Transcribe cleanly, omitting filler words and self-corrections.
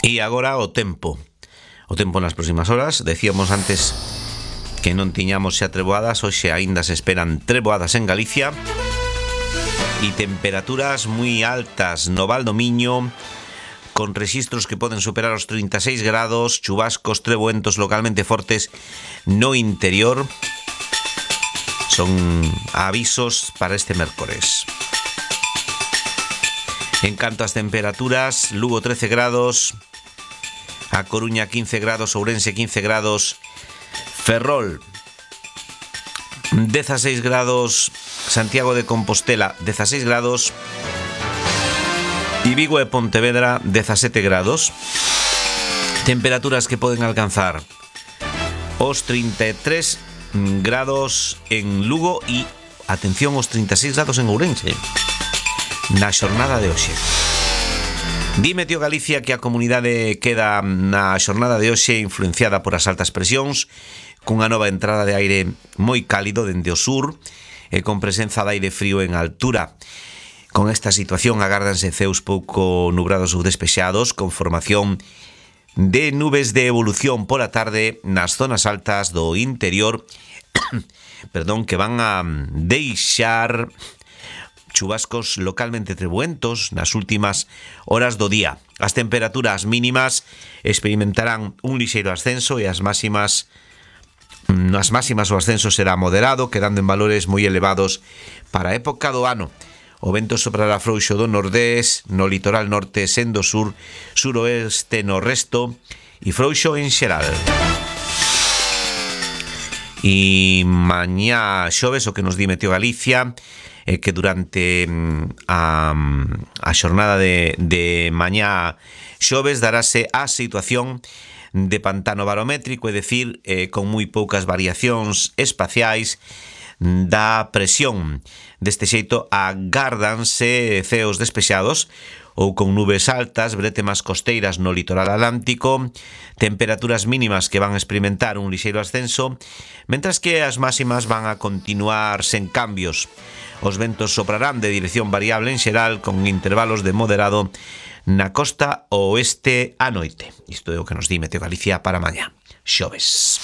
E agora o tempo. O tempo nas próximas horas. Decíamos antes que non tiñamos xa treboadas. Hoxe aínda se esperan treboadas en Galicia. E temperaturas moi altas no Val do Miño, con rexistros que poden superar os 36 grados, chubascos, treboentos localmente fortes no interior. Son avisos para este mércores. En canto ás temperaturas, Lugo 13 grados, A Coruña 15 grados, Ourense 15 grados, Ferrol 16 grados, Santiago de Compostela 16 grados e Vigo e Pontevedra 17 grados. Temperaturas que poden alcanzar os 33 grados en Lugo e, atención, os 36 grados en Ourense na xornada de hoxe. Dime, tío Galicia, que a comunidade queda na xornada de hoxe influenciada por as altas presións, cunha nova entrada de aire moi cálido dende o sur e con presenza de aire frío en altura. Con esta situación agárdanse ceus pouco nubrados ou despexados, con formación de nubes de evolución pola tarde nas zonas altas do interior, que van a deixar chubascos localmente treboentos nas últimas horas do día. As temperaturas mínimas experimentarán un lixeiro ascenso e as máximas o ascenso será moderado, quedando en valores moi elevados para a época do ano. O vento soprará frouxo do nordés, no litoral norte, sendo sur, suroeste no resto e frouxo en xeral. E mañá xoves, o que nos di Meteo Galicia, que durante a xornada de mañá xoves darase a situación de pantano barométrico, é dicir, con moi poucas variacións espaciais da presión. Deste xeito agárdanse ceos despexados ou con nubes altas, brétemas costeiras no litoral atlántico, temperaturas mínimas que van a experimentar un lixeiro ascenso, mentras que as máximas van a continuar sen cambios. Os ventos soprarán de dirección variable en xeral, con intervalos de moderado na costa oeste a noite. Isto é o que nos di Meteo Galicia para mañá, xoves.